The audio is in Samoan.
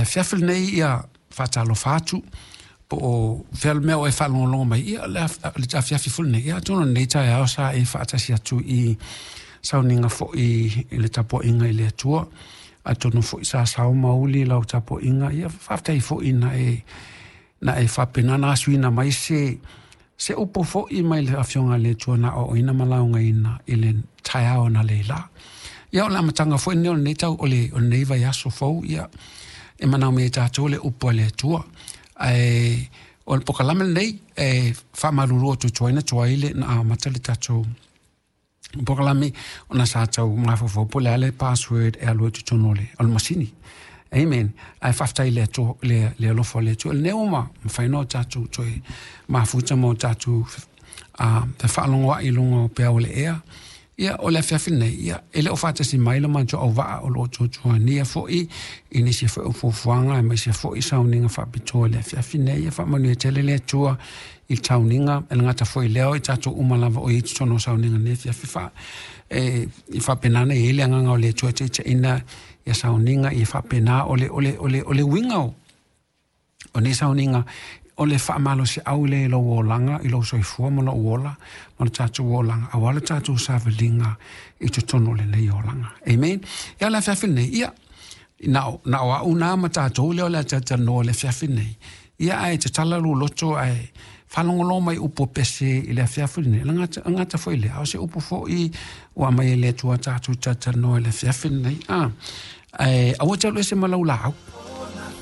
afiafi lenei, ia, faatalofa atu po o fea le mea o e faalogologo mai, ia, le afiafi foi lenei, ia, atonu o lenei taeao sa e faatasi atu i sauniga foi i le tapuaiga i le Atua. Atonu foi sa sao ma uli lau tapuaiga, ia, faafetai foi na e faapena na asuina mai se upu foi mai le Afioga a le Atua na aoaoina ma laugaina i le taeao na leila. Ia, o le amataga foi lenei o lenei tau o lenei vaiaso fou, ia, e manaomia e tatou le upu a le Atua. Ae o le pokalame lenei e faamalulu atu tuai na tuai le na amata le tatou pokalame ona sa tau mafaufau po o le a le password e alu ai totonu o le masini. Amen. Ae faafetai i le Atua, le alofa o le Atua. Lenei ua mafai ona tatou toe mafuta ma o tatou fefaalogoai i luga o peau o le ea. Ia, o le afiafi lenei, ia, e le o faatasi mai le matou auvaa o lo o tuatuania foi i nisi foi o fuafuaga aemaise foi sauniga faapitoa i le afiafi nei. Ia faamanuia tele le Atua i le sauniga, e le gata foi i lea o i tatou uma lava o i totonu o sauniga nei afiafi i faapena ona i ai le agaga o le Atua e taitaiina ia sauniga, ia faapena o le uiga o nei sauniga, o le faamalosiau lea i lou olaga, i lou soifua ma lou ola, ma le tatou olaga, aua le tatou savaliga i totonu o lenei olaga. Amen. Ia, le afiafi lenei, ia, na o au nā ma tatou lea o le a talatalanoa i le afiafi lenei. Ia, ae tatala lou loto ae faalogologo mai upu o pese i le afiafi lenei. E gata foi lea, a o se upu foi ua aumai e le Atua tatou talatalanoa i le afiafi lenei. Ae aua te alu ese ma lau laau.